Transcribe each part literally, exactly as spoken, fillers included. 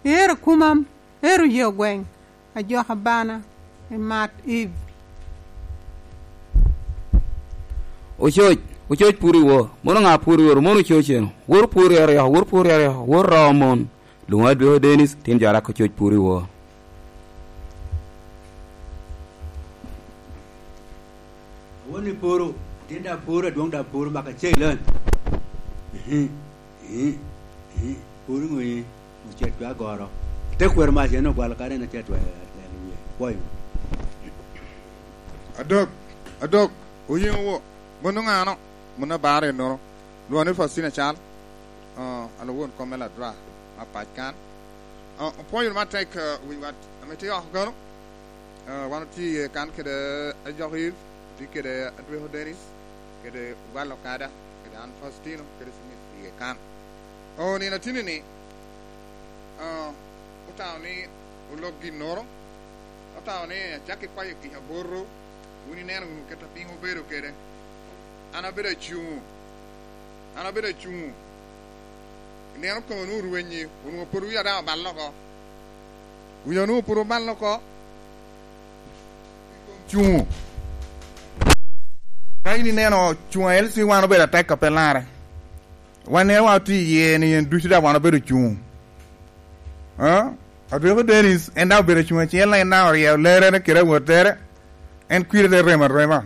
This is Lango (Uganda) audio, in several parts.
Ero kumam, ero ye ogweng, ajok abana, i mat Eve. Ococ, ococ pur i wor. Mono ŋa pur i wor? Mono ococ eno. Wor pur i aryo, wor pur i aryo, wor roo mon. Lwoŋo adweko Dennis, tin jo arak ococ pur i wor. Awon ni poro, tin da poro, adwoŋ da poro, maka cei lon. Ehe, ehe, ehe, poro ŋo ye? Ocet dwe agoro. Te kwero mac en ogwalo kare en acet dwe, dwe, dwe, pwoyo. Adok, adok, oyeŋo wo, mono ŋano, mono abaro ennono. Lwongo ni Faustina Cal, ah, alo won kom me Ladra, ma pac kan. Ah, opwonyo matek, ah, wi wat, ame tye oko gano. Ah, wan otye iye kan kede Ajok Eve, otye kede Adweko Dennis, kede Ogwal Okada, kede an Faustino, kede Smith iye kan. O, nino atini-ni, ah, otamo ni olok ginnoro, otamo ni acakki kwayo kica botwu, wun ineno wunu kit a piny obedo kede. An abedo acuŋ, an abedo acuŋ. Ineno kome onwoŋo orwenyi, onwoŋo pwod wiya daŋ oballe oko. Wiya onwoŋo pwod oballe oko. Cuŋ. Ka in ineno cuŋ a L C wan obedo atek a pe larre. Wan neno wan otye iye ni en ducu daŋ wan obedo cuŋ. Ah? Adweko Dennis, en daŋ obedo cuŋ acel, en daŋ oryeyo lerrere kede awottere. En kwire te remo arema.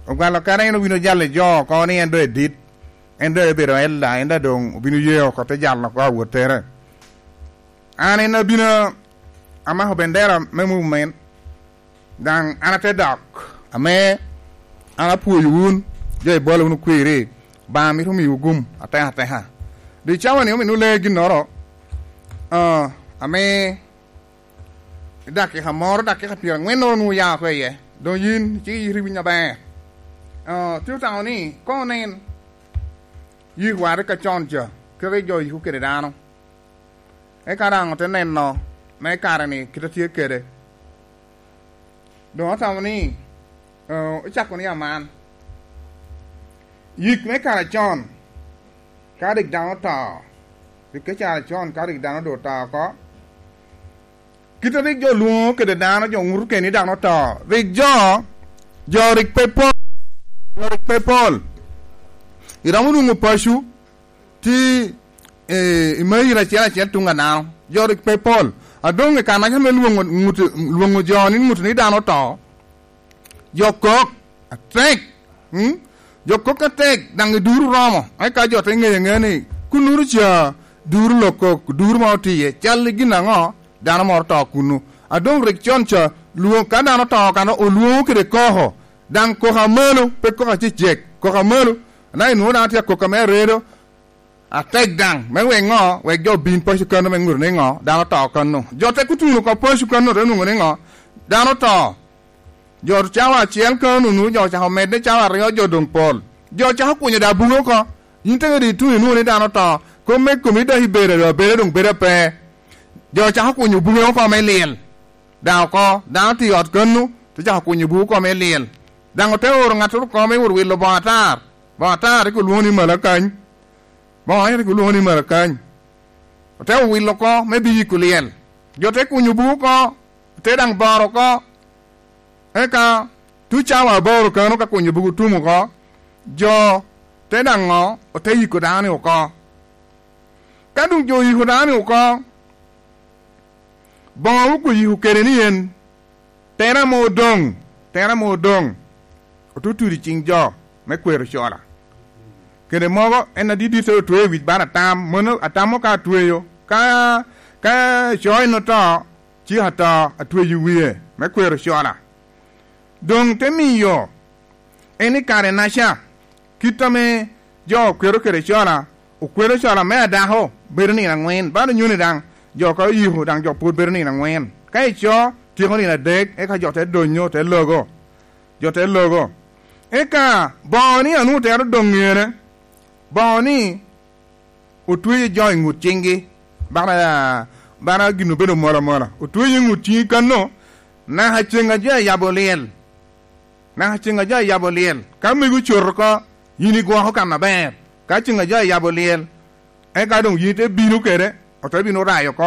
Ogwalo kara en obino jalo jo oko ni en doŋ edit, en doŋ ebedo elda, en daŋ doŋ obino ye oko te jalo oko awottere. An en abino amako bendera me movement, daŋ an ate dok, ame an apwoyo wun, jo ibolo wunu kwiri, Obaŋa mito miwu gum ateka ateka. Doŋ i cawa-ni omio lee ginnoro, ah, ame i dakika moro, dakika pyeraŋwen onwoŋo oya oko iye. Doŋ yin icik iyito iwiny aber. Ah, tye otamo ni, koŋ onen yikwa rik acon ca, kite jo yiko kede dano. Eka daŋ ote neno me kare-ni kite tye kede. Doŋ otamo ni, ah, ocako ni aman. Yik me kare acon, ka rik dano oto, rik i kare acon, ka rik dano doŋ oto oko, Kit a rik jo lwoŋo kede dano, jo ŋuto kede ni dano oto, rik jo, jo rik pe pol, jo rik pe pol. Iromo nwoŋo paco, tye, eh, i mairo acel acel tuŋ a dano, jo rik pe pol. A doŋ i kanaca me lwoŋo, ŋut-, lwoŋo jo ni ŋuto ni dano oto, jo kok atek, mm? Jo kok atek, daŋ i duru romo, eka jo te ŋeyo aŋeya ni kunnuru ca duru lok kok, duru ma otye iye, cal i gin aŋo? Dano moro oto kunnu. A doŋ rik con ca, lwoŋo ka dano oto kan, olwoŋo kede koko, daŋ koko amalo, pe koko acecek, koko amalo. Anaka inwoŋo daŋ atye akok ame aredo, atek daŋ, me wek ŋo? Wek jo obin paco kano me ŋuto ni ŋo? Dano oto kano. Jo te kutuno oko paco kano, te nwoŋo ni ŋo? Dano oto. Jo cawa acel kano nunu, jo ocako medde cawa aryo, jo doŋ pol. Jo ocako kunyo da buge oko. Yin te kede ituno inwoŋo ni dano oto. Kop me komi dok ibedo, abeda doŋ bedo ape. Jo ocako kunyo buge oko me lyel. Daŋ oko, dano tye i ot kano, te cako kunyo buge oko me lyel. Daŋ ote oro ŋattoro oko me wot wilo boŋo atar. Boŋo atar rik olwoŋo ni Malakany. Boŋo rik olwoŋo ni Malakany. Ote owilo oko me bi yiko lyel. Jo te kunyo buge oko, te daŋ boro oko. Eka tuŋ cawa aboro kano ka kunyo buge otum oko, jo te daŋ ŋo? Ote yiko dano-ni oko. Ka doŋ jo oyiko dano-ni oko, boŋo oko oyiko kede ni en, tera mo odoŋ, tera mo odoŋ, otutudo i ciŋ jo me kwero cola. Kede mogo en adidit te otweyo i wic bala atam, mono atam mo ka atweyo, ka, ka co en oto, cik ato atweyo i wie me kwero cola. Doŋ te miyo en i kare-naca, kit ame jo okwero kede cola, okwero cola me adako bedo nino aŋwen, bala onyoni daŋ, jo ka oyiko daŋ jo pwod bedo nino aŋwen. Ka ico, tyeko nino adek, eka jo te donyo, te logo. Jo te logo. Eka boŋo ni anwoŋo tero doŋ ŋene, boŋo ni otweyo jo i ŋut ciŋgi, bala, bala gin obedo mola mola. Otweyo i ŋut ciŋgi kano, naka ceŋ a jo ayabo lyel. Naka ceŋ a jo ayabo lyel. Ka mego ocoto oko, yin igwoko kan aber. Ka ceŋ a jo ayabo lyel, eka doŋ yin ite bino kede, ote bino rayo oko.